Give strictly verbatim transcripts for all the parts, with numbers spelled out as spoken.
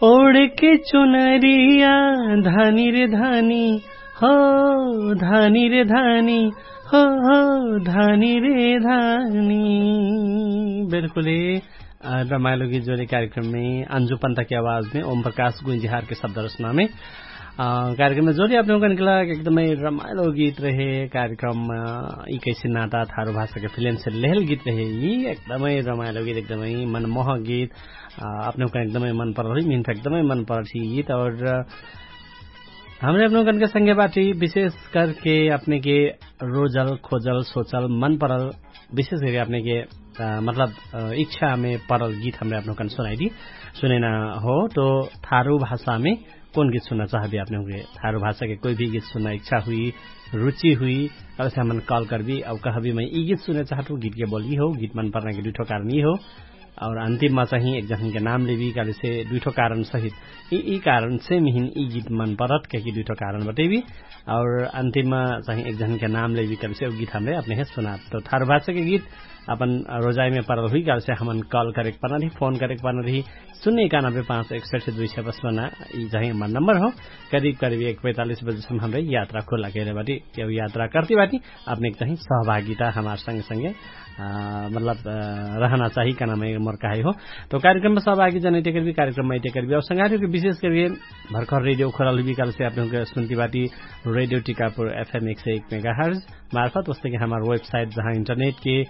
ओढके चुनरिया धानी रे धानी, हो धानी रे धानी, हो हो धानी रे धानी। बिल्कुलै रमाइलो गीत जोरी कार्यक्रममे अन्जु पन्तके आवाजमे ओम प्रकाश गुइजिहारके शब्द रचनामे कार्यक्रममे जोरी अपने हुँकन गेला एकदमै रमाइलो गीत रहे। कार्यक्रम यि कैसे नाता थारु भाषाके फिल्मसे लेहल गीत रहे। यि एकदमै रमाइलो गीत एकदमै मनमोह गीत। अपने हुँकन एकदमै मन परल हुइ मिहिन फे एकदमै मन परल हि गीत और हमरे अपने हुँकनके संगे बाटी विशेष करके अपनेके रोजल खोजल सोचल मन परल विशेष करके अपनेके मतलब इच्छामे परल गीत हमरे अपने हुँकन सुनाइदी। सुनैना हो तो थारु भाषामे कौन गीत सुनना चाहबी अपने हुँके थारु भाषाके कोइ भी गीत सुनना इच्छा हुइ रुचि हुइ, अबसे हमन कल करबी अब कहबी मै यि गीत सुनना चाहत हु गीतके बोल यि हो गीत मन परनाके दुइठो कारण यि हो। और अन्तिममा चाही एक जन्हनके नाम लेबी कालेसे दुइठो कारण सहित यि कारणसे मिहिन यि गीत मन परत कहिके दुइठो कारण बटैबी। और अन्तिममा चाही एक जन्हनके नाम लेबी कालेसे उ गीत हमरे अपने हे सुनात तो थारु भाषाके गीत अपन रोजाइमे परल हुइ कालेसे हमन कल करेक परना रही फोन करेक परना रही। सुन्ने एकानबे पाँच एक सठे दुइ सय पचपन्न यि चाही हमर नम्बर हो। करिब करिब एक पैतालिस बजेसम्म हमरे यात्रा खुल्ला कैले बाटी। यौ यात्रा करती बाटी अपनेक चाही सहभागिता हमार संगे संगे मतलब रहना चाही कहना मै मोर कहाइ हो। तो कार्यक्रममा सहभागी जनैते करबी कार्यक्रममा अइते करबी और संगारी हुँके विशेष करके भर्खर रेडियो खोलल हुइबी कालसे अपने हुँके सुन्ती बाटी रेडियो टिकापुर एफएम एक सय एक मेगा हर्ज मार्फत वस्तेके हमार वेबसाइट जहाँ इन्टरनेटके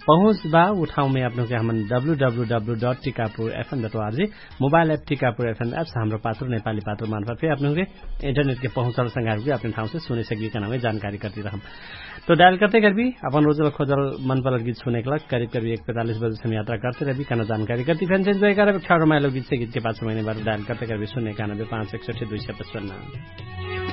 पहुँच बा उ ठाउँमे अपने हुँके हमन W W W dot Tikapur F M dot O R G mobile app Tikapur F M apps हमरो पात्र नेपाली पात्र मार्फत फे अपने हुँके इन्टरनेटके पहुँचल संगारी हुँके अपने ठाउँसे सुने सकी कहना मै जानकारी करती रहम। तो डायल करते करबी अपन रोजल खोजल मन परल गीत सुनेक लग करिब करिब एक पैतालिस बजेसम्म यात्रा करते रहबी कहना जानकारी करती फेन से इन्जोय करबी ठाउँ रमाइलो गीतसे गीतके पाछे महिने बारे डायल करते करबी सुन्ने एकानबे पाँच एक सठे दुइ सय पचपन्न।